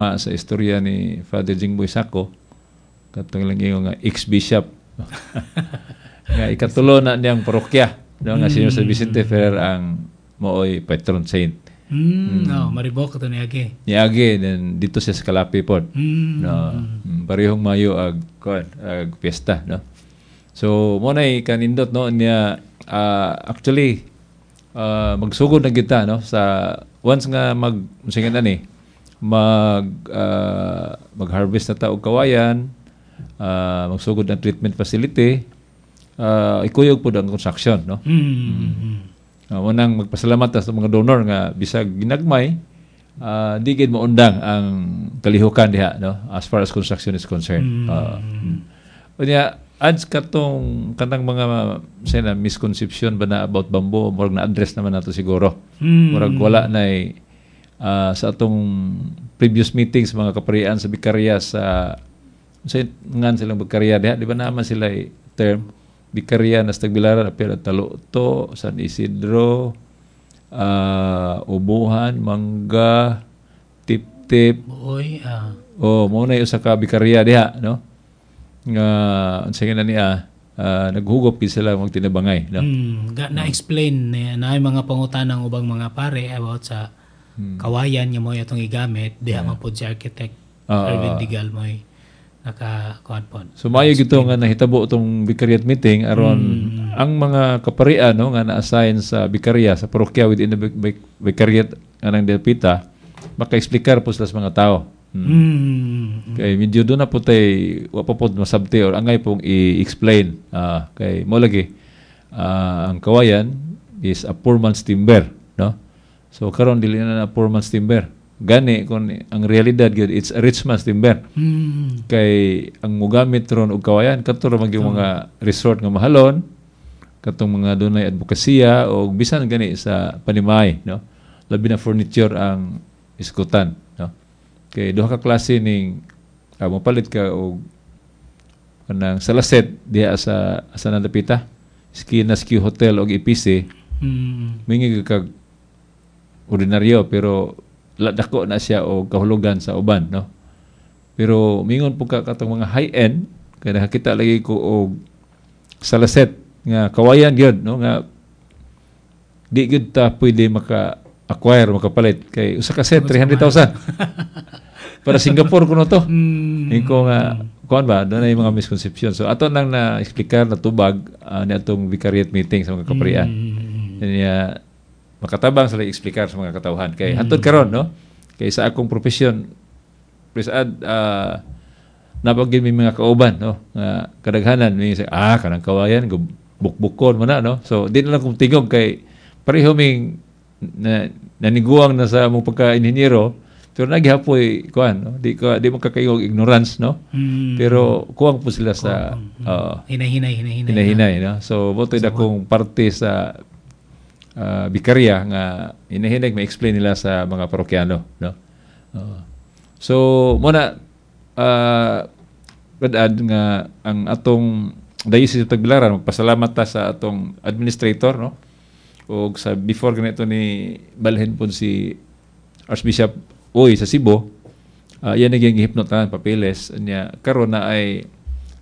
Sa istorya ni Father Jingboy Sako, katong lang ingon nga ex-bishop nga ikatulo na niyang parokya, no, nga si San Vicente Ferrer ang maoy patron saint. No, Mariboc to niagi. Niagi then dito siya sa Calape pod. No, parehong Mayo ag kuan ag piyesta, no. So mo nay kanindot, no, niya. Actually, magsugod na kita, no, sa once nga mag sige na ni mag harvest na ta og kawayan, magsugod ang treatment facility, ikuyog pod ang construction, no. Unang magpasalamat ta sa mga donor nga bisag ginagmay, di gid maundang ang kalihukan diha, no, as far as construction is concerned. Unya adds katong kanang mga sana misconception ba na about bamboo, murag na-address naman nato siguro. Murag wala na sa atong previous meetings, mga kaparian sa bikarya sa ngan silang bikarya diha, di ba naman sila term bikarya na sa Tagbilaran, apil ang Taluto, San Isidro, Ubuhan, Mangga, Tip-Tip. Buoy, ah. Oh, mo na usa ka bikarya diha, no? Nga unsa na niya, naghugop gid sila magtinabangay, no? Na-explain na mga pangutanang ubang mga pare about sa kawayan nga mo atong igamit diha man pod si architect Erwin Digal mo'y naka kuan pod. So maayo gito nga nahitabo itong vicariate meeting aron ang mga kaparian, no, nga na-assign sa bikarya sa parokya within the vicariate anang Delpita maka-explikar po sila sa mga tao. Kay medyo doon na po tay wa pa pod masabti or angay pong i-explain. Kay mo lagi ang kawayan is a poor man's timber, no? So karon dili na na poor man's timber. Gani kung ang realidad gyud, it's a rich man's timber. Kay ang mugamit ron og kawayan kadto ra man gyud mga resort nga mahalon, katong mga dunay advokasya o bisan gani sa panimay, no, labi na furniture ang iskutan, no, kay duha ka klase ning mopalit ka og kanang salaset diha sa asa na dapita Ski na Ski Hotel og EPC, mingi kag ordinaryo pero dako na siya og kahulugan sa uban, no. Pero mingon po ka katong mga high end kay nakakita lagi ko og salaset nga kawayan gyud, no, nga di gyud ta pwede maka acquire, makapalit kay usa ka set 300,000 para Singapore kuno to. Inko nga kuan ba doon ay mga misconception. So ato nang na explicar na tubag ni atong vicariate meeting sa mga kaparian. Niya makatabang sila explicar sa mga katawhan kay hantod karon, no, kay sa akong profesyon presad napagin may mga kauban, no, nga kadaghanan may say, kanang kawayan bukbukon mo na, no. So di na lang kung tingog kay pareho ming na, naniguang na sa mong pagka-inhinyero pero naghapoy kuan, no, di ka di mo kakaigog ignorance, no. Pero kuwang po sila sa Hinay-hinay, hinay-hinay. Hinahinay, no. So mo to'y dakong parte sa bikarya nga hinahinay ma-explain nila sa mga parokyano, no. So mo na ad nga ang atong Diocese of Tagbilaran magpasalamat ta sa atong administrator, no, og sa before ganito ni balhin pod si Archbishop Uy sa Cebu, yan naging gihipnotan papeles niya karon na ay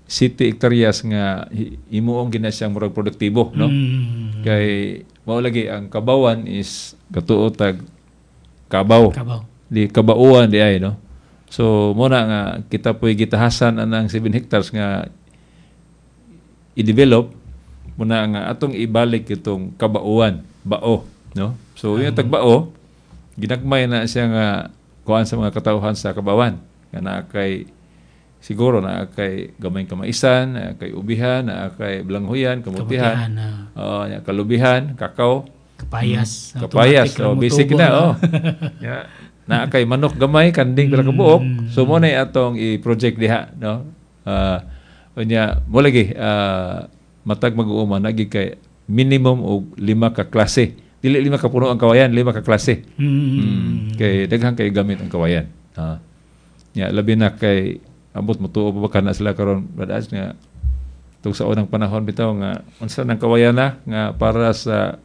city hectares nga himuong gina siyang murag produktibo, no. Kay mao lagi ang kabawan is katuo tag kabaw. Kabaw. Di kabauan di ay, no. So mo na nga kita po'y gitahasan anang 7 hectares nga i-develop mo na nga atong ibalik itong kabauan, bao, no. So yung tagbao ginagmay na siya nga kuan sa mga katawhan sa kabawan nga naa kay siguro naa kay gamay kamaisan, naa kay ubihan, naa kay blanghuyan, kamutihan, Kamutihan, nya kalubihan, kakao, kapayas. Kapayas, Automatic oh, ra basic motubo na, oh. Ya, naa kay manok gamay, kanding pila ka buok. So mo na atong i-project diha, no. Unya mo lagi matag mag-uuma nagi kay minimum og lima ka klase. Dili lima ka puno ang kawayan, lima ka klase. Kay daghan kay gamit ang kawayan. Ya, labi na kay abot mo tuo pa ba kana sila karon badaas nga tug sa unang panahon bitaw nga unsa nang kawayan na nga para sa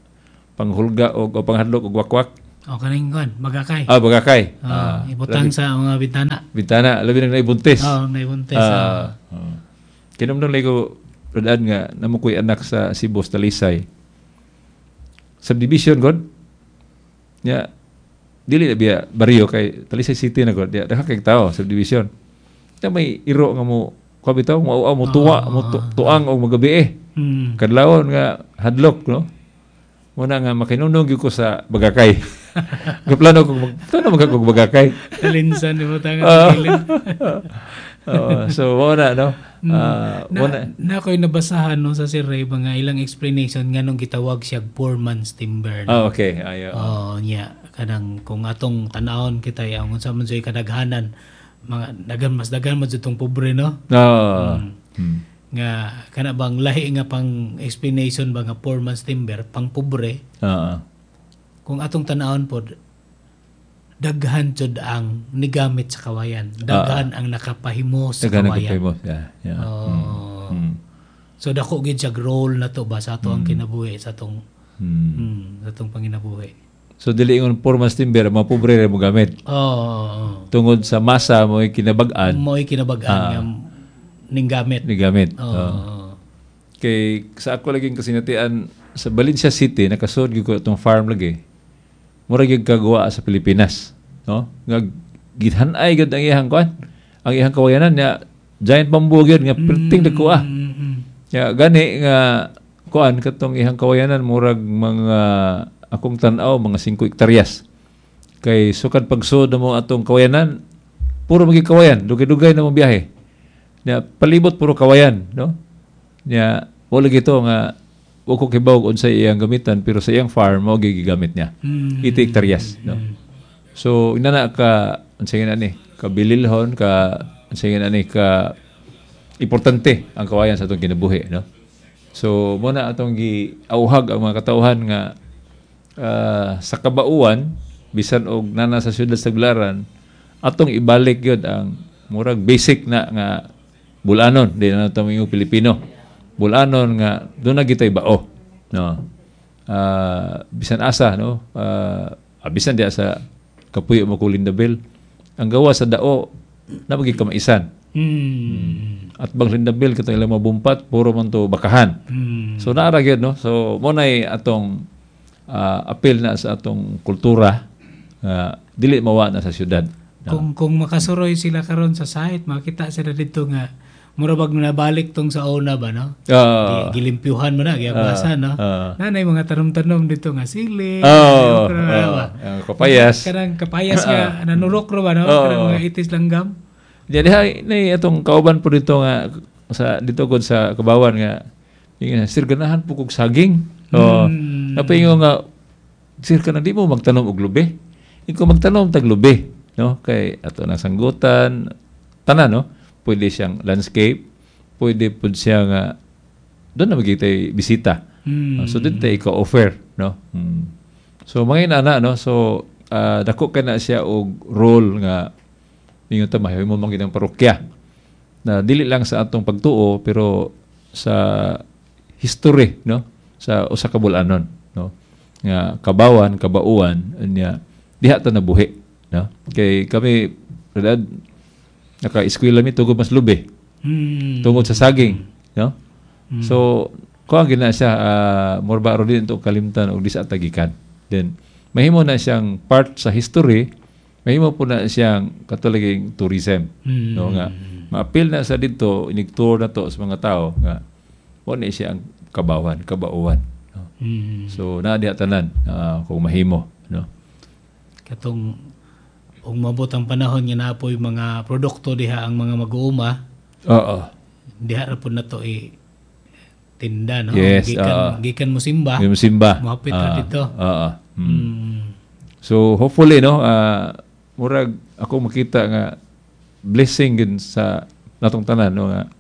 panghulga og o panghadlok og wakwak. O kaning kuan, bagakay. Ah, bagakay. Oh, Ah, ibutang sa mga bintana. Bintana, labi nang naibuntis. Oh, naibuntis. Ah, oh. Kinumdum lang ko, Rodaan nga, namo ko'y anak sa Cebu, sa Talisay. Subdivision, god. Ya, dili na biya baryo kay Talisay City na god. Ya, daghan kay tao subdivision. Ya may iro nga mo kuha bitaw mo mo tuwa mo tuang og magabi eh. Kadlawon nga hadlok, no. Muna nga makinunong gyud ko sa bagakay. Gaplano ko mag tuno mag kog bagakay. Talinsan ibutang sa kilid. Oo, so mo na, no. Ah, Na, mo na. na ako'y nabasahan no sa Sir Ray mga ilang explanation nganong gitawag siya poor man's timber. No? Ah, okay. Ayo. Oh, niya kanang kung atong tan-awon kita ang unsa man jud kadaghanan mga daghan mas daghan man jud tong pobre, no? No. Nga kana bang lahi nga pang explanation ba nga poor man's timber pang pobre, kung atong tan-awon pod daghan jud ang nigamit sa kawayan, daghan ang nakapahimo sa Daghan ang kawayan. kapay mo. Yeah. Oh. So dako gid siya role na to ba sa ato ang kinabuhi sa atong sa atong panginabuhi. So dili ingon poor man's timber, mga pobre ra mo gamit. Oo. Tungod sa masa mo kinabag-an Mo'y kinabag-an nga ning gamit. ni gamit. Oo. Kay sa ako laging kasinatian sa Valencia City nakasud gyud ko atong farm lagi. Mura gyud kagawa sa Pilipinas, no? Nga githan-ay gyud ang iyang kuan. Ang iyang kawayanan niya giant bamboo gyud nga perting dako ah. Ya gani nga kuan katong iyang kawayanan murag mga akong tan-aw mga 5 hektaryas. Kay sukad pagsud mo atong kawayanan puro magi kawayan, dugay-dugay na mo biyahe. Nya palibot puro kawayan, no? Nya wala gito nga wa ko kibaw unsay iyang gamitan pero sa iyang farm mao gyud gigamit niya. 80 hektaryas, no? So inana ka unsay nga ni kabililhon ka unsay nga ni ka importante ang kawayan sa atong kinabuhi, no? So mo na atong giauhag ang mga katawhan nga sa kabauan bisan og nana sa siyudad sa Tagbilaran atong ibalik gyud ang murag basic na nga bulanon di na nato moingon Pilipino bulanon nga doon na gitay bao, no? Bisan asa, no? Bisan diya sa kapuyo mo ko Lindabel ang gawa sa dao na magig kamaisan. At bang Lindabel katong ilang mabumpat puro man to bakahan. So naara gyud, no? So mo nay atong appeal na sa atong kultura dili mawa na sa syudad. Kung makasuroy sila karon sa site, makita sila dito nga mura bag nabalik tong sa una ba, no? Gilimpyuhan mo na, giabasa, no? Nanay mga tanom-tanom dito nga sili, kapayas. Kanang kapayas nga nanurok ro ba, no? Kanang mga itis langgam. Di diha nay atong kauban po dito nga sa dito gud sa Kabawan nga ingon, "Sir, ganahan po kog saging." Oh, napaingon nga, "Sir, kanang di mo magtanom og lubi." Ikaw magtanom tag lubi, no? Kay ato na sanggutan tanan, no? Pwede siyang landscape, pwede pud siya nga doon na magigitay bisita. So dito tayo ika-offer, no? So mga inana, no? So dako ka na siya og role nga ninyo ta mahimo man gid ang parokya na dili lang sa atong pagtuo pero sa history, no? Sa usa ka bulanon, no? Nga kabawan, kabauan nya diha ta nabuhi, no? Kay kami redad naka-eskwela mi tugod mas lubi. Tungod sa saging, no? So kuan gid na siya more ba ro din to kalimtan og di sa tagikan. Then mahimo na siyang part sa history, mahimo po na siyang katulaging tourism, no? Nga maapil na sa didto inig-tour na to sa mga tao nga mo ni siya ang kabawan, kabauan, no? So naa diha tanan kung mahimo, no? Katong ug mabot ang panahon nga naapoy mga produkto diha ang mga mag-uuma. Oo. Diha ra pud nato i tinda, no? Yes, gikan mo simba. Gikan mo simba. Mohapit ra dito. Oo. So hopefully, no, murag ako makita nga blessing gid sa natong tanan, no, nga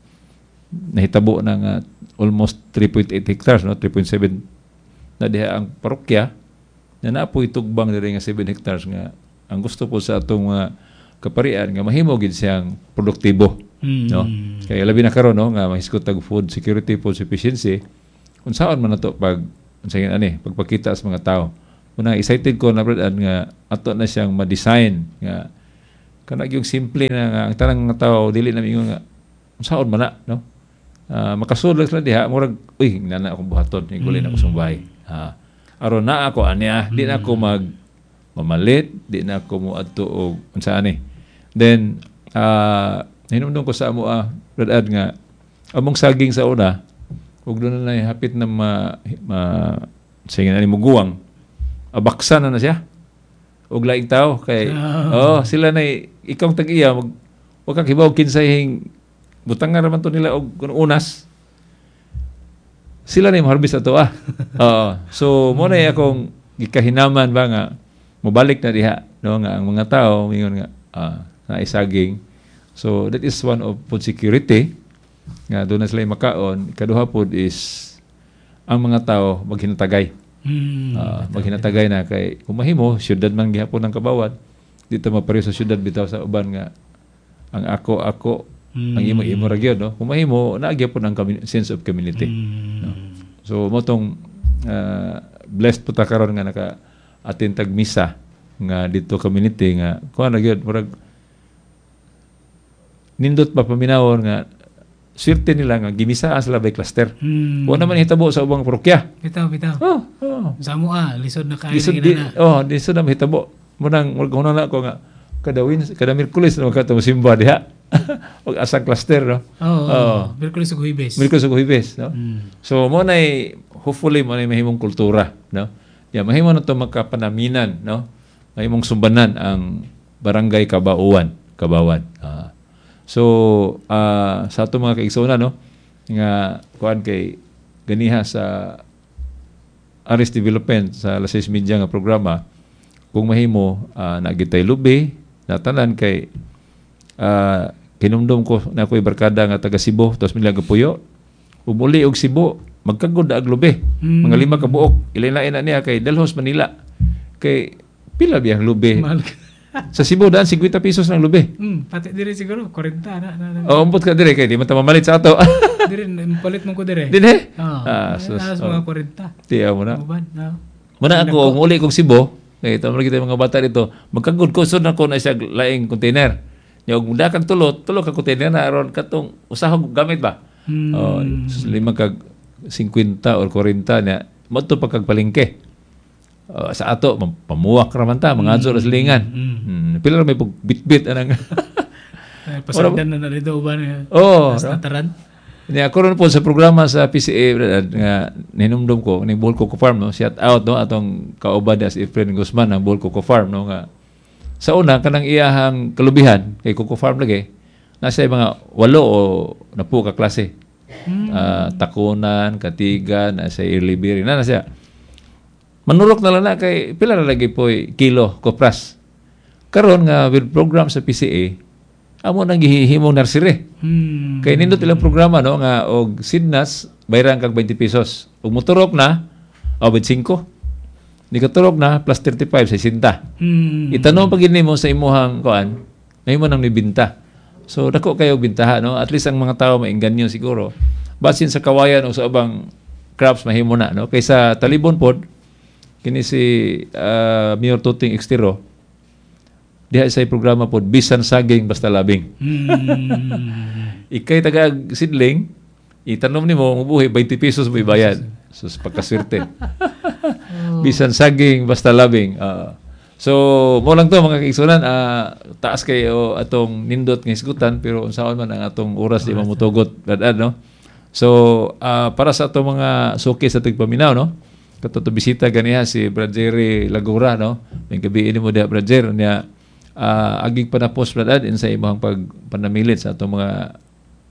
nahitabo na nga almost 3.8 hectares, no, 3.7 na diha ang parokya na naapoy tugbang diri nga 7 hectares nga ang gusto po sa atong mga kaparian nga mahimo gid siyang produktibo, no? Kay labi na karon, no, nga mahisgot tag food security, food sufficiency, unsaon man nato pag unsa ani pagpakita sa mga tao Una excited ko na, Brad, nga ato na siyang ma-design nga kana yung simple na nga ang tanang nga tao dili na mingon nga unsaon man na, no? Makasulod lang sila diha, murag, "Uy, nana akong buhaton, higulin ako sa bahay." Aron na ako aniya, di na ako mag mamalit, di na ako mo adto og unsa ani. Then hinumdum ko sa amo, Brad Ad, nga among saging sa una ug doon na hapit na ma sige na ni muguwang, abaksa na na siya og laing tao kay oh, sila na ikaw ang tag-iya, mag wa ka kibaw kinsay hing butang nga raman to nila og kuno unas, sila na yung harvest ato ah. Oo. So mo na akong gikahinaman ba nga mobalik na diha, no, nga ang mga tao mingon nga na isaging. So that is one of food security nga doon na sila makaon. Kaduha pod is ang mga tao maghinatagay. Maghinatagay na kay kung mahimo syudad man gihapon ang Kabawan, dito mapareho sa syudad bitaw sa uban nga ang ako ako, ang imo imo ra gyud, no? Kung mahimo naa gyapon ang sense of community. No? So mo tong blessed po ta karon nga naka attend tag misa nga dito community nga kuan na gyud, murag nindot pa paminawon nga swerte nila nga gimisaan sila by cluster. Wa naman hitabo sa ubang parokya. Bitaw, bitaw. Oh. Sa amo ah, lisod na kaayo. Lisod na di, ginana. Oh, lisod na mahitabo. Munang murag na ako nga kada Miyerkules na magkato simba diha. Og asang cluster, no. Oo. Oo. Miyerkules ug Huwebes. Miyerkules ug Huwebes, no. So mo nay hopefully mo nay mahimong kultura, no. Ya mahimo na to makapanaminan, no. Mahimong sumbanan ang Barangay Kabauan, Kabawan. So sa ato mga kaigsoona, no, nga kuan kay ganiha sa Aris Development sa Las 6 Media nga programa, kung mahimo nagitay lubi natanan kay kinumdum ko na ako'y barkada nga taga Cebu, tapos mila gapuyo umuli og Cebu, magkagod ag lubi, mga 5 ka buok, ilain na niya kay dalhos Manila kay pila biyang lubi. Mahal. Sa Cebu daan 50 pesos ng lubi. Pati dire siguro 40 na. O umpot ka dire kay di man ta mamalit sa ato. Dire palit mo ko dire. Dinhe. Oo. Ah, sus. Alas mga 40. Tiya mo na. Uban, no. Muna ako, muli kong Cebu, kay ito kita mga bata dito, magkagod ko, sud na ko na siya laing container. Nya og muda kag tulo, tulo ka container na aron katong usahog gamit ba? Oh, sus, lima kag 50 or 40 niya, modto pa kag palengke. Oh, sa ato pamuwak ra man ta, mga adyo ra silingan. Pila ra may pag bitbit anang Ay, pasagdan na na dito uban. Oh, Sa no? taran. Niya ako ron po sa programa sa PCA, brad, nga ninumdum ko ning Bohol Coco Farm, no, shout out, no, atong kauban niya si Efren Guzman ang Bohol Coco Farm, no, nga sa una kanang iyahang kalubihan kay Coco Farm lagi nasa mga 8 o 10 ka klase. Takunan, Katigan, nasa early berry na na siya. Manurok na lang na kay pila na lagi po kilo kopras. Karon nga with program sa PCA, amo nang gihimong nursery. Kay nindot ilang programa, no, nga og sidnas bayran kag 20 pesos. Ug moturok na o 25. Ni katurok na plus 35 sa 60. Itanom pag mo sa imuhang kuan, mahimo nang nibinta. So dako kayo bintaha, no. At least ang mga tao mainganyo siguro. Basin sa kawayan o sa ubang crops mahimo na, no. Kaysa Talibon pod kini si Mayor Tuting Extero diha sa programa pod, bisan saging basta labing. Ikay taga sidling, itanom nimo mubuhi, 20 pesos mo ibayad. Sus, pagkaswerte. Bisan saging basta labing. So mo lang to, mga kaigsunan, taas kayo atong nindot nga hisgutan, pero unsaon man ang atong oras di mamutugot dad, no. So para sa atong mga suki sa tigpaminaw, no, kato to bisita ganiha si Brad Jerry Lagura, no. May gabi mo diha, Brad Jerry, niya agig panapos, Brad Ad, sa imong pagpanamilit sa atong mga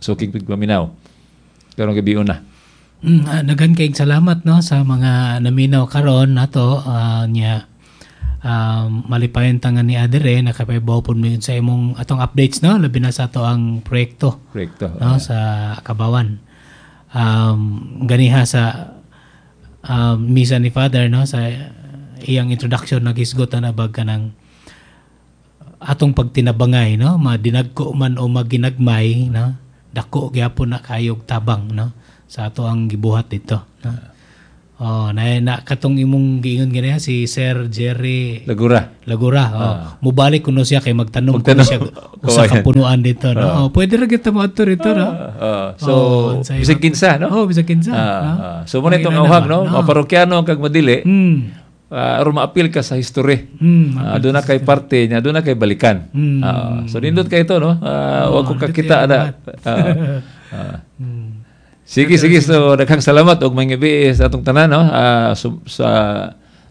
suking tigpaminaw karong gabi una. Daghan kayong salamat, no, sa mga naminaw karon nato nya malipayon ta nga ni adere nakapaybaw pud mi sa imong atong updates, no, labi na sa ato ang proyekto Proyekto. No, sa Kabawan. Ganiha sa misa ni Father, no, sa iyang introduction naghisgot na bag kanang atong pagtinabangay, no, madinagko man o maginagmay, no, dako gyapon na kayog tabang, no, sa ato ang gibuhat dito, no. Oh, na, na katong imong giingon ganiha, si Sir Jerry Lagura. Lagura. Oh. Mubalik kuno siya kay magtanom kuno siya usa ka punuan dito, no? Oh, pwede ra kita moadto rito, no? So Oh, unsay bisag kinsa, no? Oh, bisag kinsa. No? So mo na itong Ang awhag, no? ba? Mga parokyano kag madili, aron maapil ka sa history. Doon na kay parte niya, doon na kay balikan. So nindot kay ito, no? Wag ko kakita ana. Sige, sige. So daghang salamat og mga gabi sa atong tanan, no?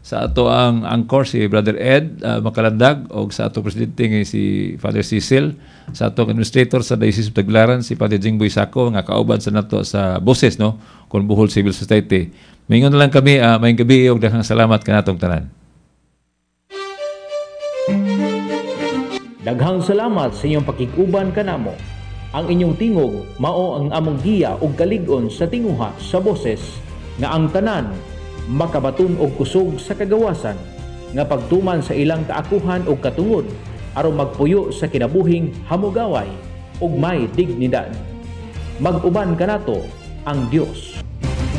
Sa ato ang anchor si Brother Ed Makalandag og sa ato presidente nga si Father Cecil, sa atong administrator sa Diocese of Tagbilaran si Father Jingboy Sako nga kauban sa nato sa boses, no, kon Bohol Civil Society. Mingon na lang kami, maayong gabi og daghang salamat kanatong tanan. Daghang salamat sa inyong pakig-uban kanamo. Ang inyong tingog mao ang among giya ug kalig-on sa tinguha sa boses nga ang tanan makabaton og kusog sa kagawasan nga pagtuman sa ilang kaakuhan ug katungod aron magpuyo sa kinabuhing hamugaway ug may dignidad. Mag-uban kanato ang Dios.